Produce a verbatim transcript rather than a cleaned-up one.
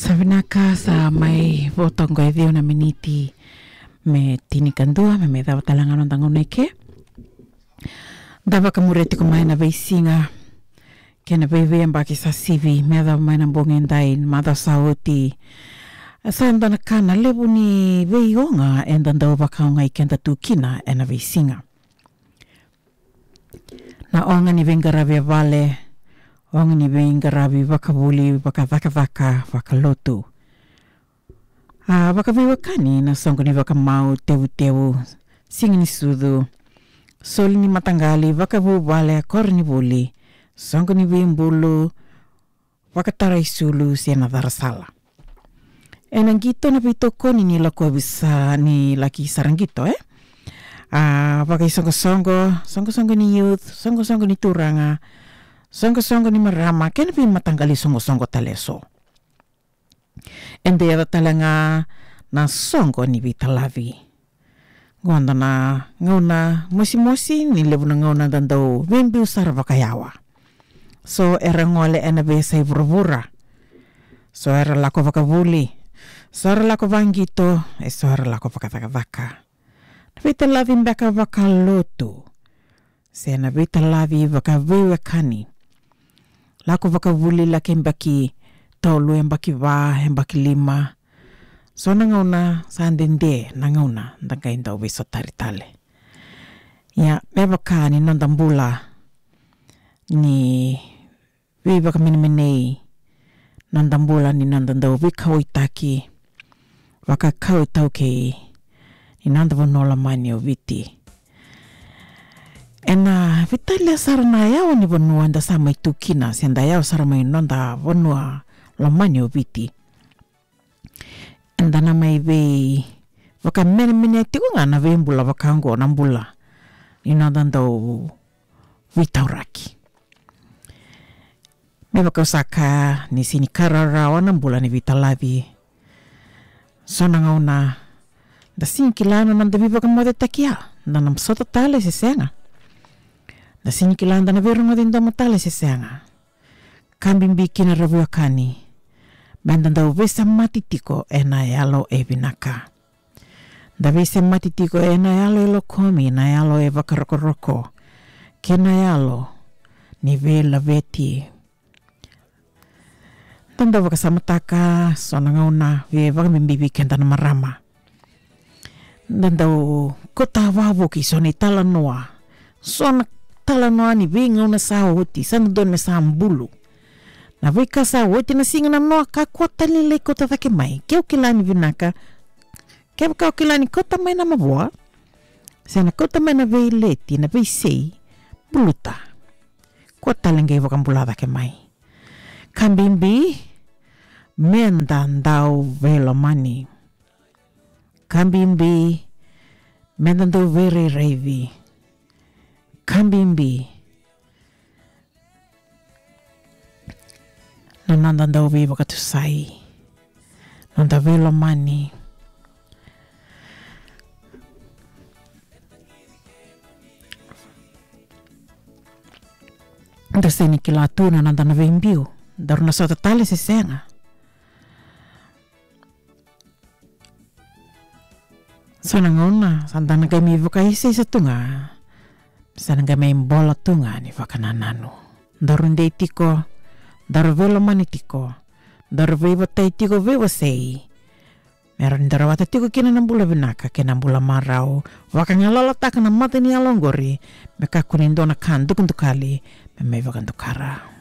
Sa vinaka, sa mai vo toka e ciwa na miniti me tinikadua, me mai cava tale ga na noda gauna eke. Da vakamuria tiko mai na veisiga kei na veiveiyabaki sa sivi me yacova mai na bogi edai, macawa sa oti. Sa dua na ka na levu ni veioga eda dau vakaogai keda tu kina ena veisiga. Na oga ni veiqaravi e vale, oga ni veiqaravi vakavuli, vakacakacaka, vakalotu. A vakaveiwekani na soqo ni vakamau, tevutevu, siga ni sucu, soli ni mataqali, vakavuvale, koronivuli, soqo ni veibulu, vakataraisulu se na carasala. Ena qito na veitokoni ni lakovi sa ni laki sara qito, e? A vakaisoqosoqo, soqosoqo ni youth, soqosoqo ni turaga, soqosoqo ni marama, kei na veimataqali soqosoqo tale eso. Eda yaco tale ga na soqo ni veitalavi. Qo dua na gauna mosimosi, ni levu na gauna da dau veibiu sara vakayawa. So era gole ena veiyasai vuravura. So era lako vakavuli. So era lako vaqito, e so era lako vakacakacaka. Na veitalavi beka vakalotu. Se na veitalavi vakaveiwekani. Lako vakavuli, laki yabaki tolu, yabaki va, yabaki lima. So na gauna sa dede na gauna da qai dau veisotari tale. Ia, me vaka ni noda bula ni veivakamenemenei, noda bula ni noda dau veikauwaitaki, vakakau iTaukei ni noda vanua lomani o Viti. Ena veitalia sara na yawa ni vanua eda sa mai tu kina, se da yawa sara mai noda vanua lomani o Viti. Eda na mai veivakamenemenea tiko ga na veibula vaka oqo, na bula ni noda dau veitauraki. Me vaka au sa kaya, ni sega ni ka rawarawa na bula ni veitalavi. So na gauna da sega ni kila na noda veivakamocetaki ya, da na sota tale se sega. Da sega ni kila da na veirogoci domo tale se sega. Ka bibi kina, ra veiwekani, meda dau veisemati tiko ena yalo e vinaka. Da veisemati tiko ena yalo e lokomi, na yalo e vakarokoroko, kei na yalo ni veilaveti. Da dau vakasamataka so na gauna, vei, vakabibi vei keda na marama. Da dau kauta vakavuki so na italanoa. So na talanoa ni veigauna sa oti, sa dodonu me sa bulu. Na veika sa oti na siga, na noa ka kua tale ni lai kauta cake mai. Ke o kila ni vinaka, kevaka o kila ni kauta mai na mavoa, se na kauta mai na veileti, na veisei, buluta. Kua tale qai vakabula cake mai. Ka bibi, meda dau veilomani. Ka bibi, meda dau veirairaici. Ka bibi, na noda dau veivakatusai, noda veilomani. Da sega ni kila tu na noda na veibiu, daru na sota tale se sega. So na gauna sa da na qai mai vakaisaisa tu ga, sa na qai mai bola tu ga ni vakanananu. Daru dei tiko, daru veilomani tiko, daru veivatai tiko, veiwasei, me rawa ni da rawata tiko kina na bula vinaka kei na bula marau. Vakagalalataka na mata ni yalo oqori, me kakua ni dua na ka dukadukali me mai vakadukara.